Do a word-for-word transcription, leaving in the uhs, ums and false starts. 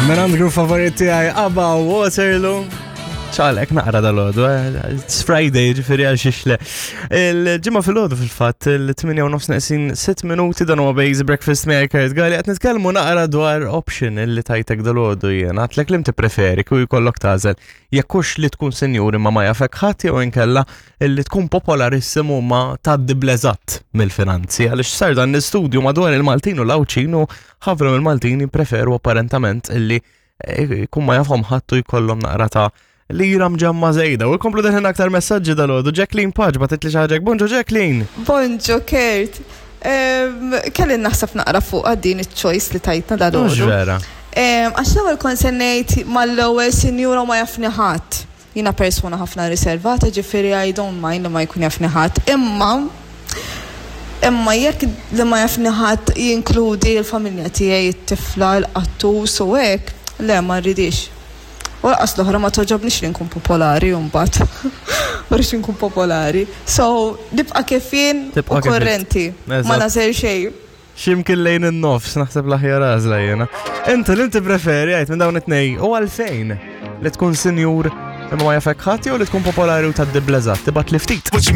Minn grupp favorit tiegħi ABBA Waterloo. ċalek naqra dal-għodu, eh? It's Friday, ġifieri għal xixle. Il-ġimgħa fil-għodu fil-fatt, il-tmienja u nofs neqsin sitt minuti, dan huwa Basic Breakfast miegħi Kurt Gali, qed nitkellmu naqra dwar option illi tajtek dal-għodu jiena. Għedtlek li preferi kieku jkollok tagħżel jekk hux li tkun sinjur imma ma jafek ħadd jew inkella illi tkun popolarissimu ma tgħaddi bleżatt mill-finanzi, għaliex sar dan l-istudju madwar il-Maltin u l-Għawdxin u ħafna mill-Maltin jippreferu apparentament illi eh, jkun ma jafhom ħadd u jkollhom naqra ta' lira mġemma żejda. U jkomplu deħlin aktar messaġġi dal-għodu. Jacqueline Paġ bagħtitli xi ħaġa. Bonġu, Jacqueline. Bonġu, Kurt. Em, Kelli naħseb naqra fuq din il-choice li tajtna Mhux dal-għodu. vera. Em, Għax l-ewwel kont se ngħid mal-ewwel sinjura ma jafni ħadd. Jiena persuna ħafna riservata, ġifieri I don't mind li ma jkun jafni ħadd. Imma Imma jekk li ma jafni ħadd jinkludi l-familja tiegħi, it-tifla, l-qattus u hekk, le, ma rridix. U lanqas l-oħra ma togħġobnix li nkun popolari u mbagħad. Ma rridx nkun popolari. So, nibqa' kif jien u Tibqa' kif int. korrenti. Ma Eżatt. nagħżel xejn. Ximkien lejn in-nofs, naħseb l-aħjar għażla jiena. Inti li inti preferi għajt minn dawn it-tnej u għalfejn? Li tkun sinjur imma ma jafek ħadd jew li tkun popolari u tgħaddi bleżatt? Tibgħat li ftit. What you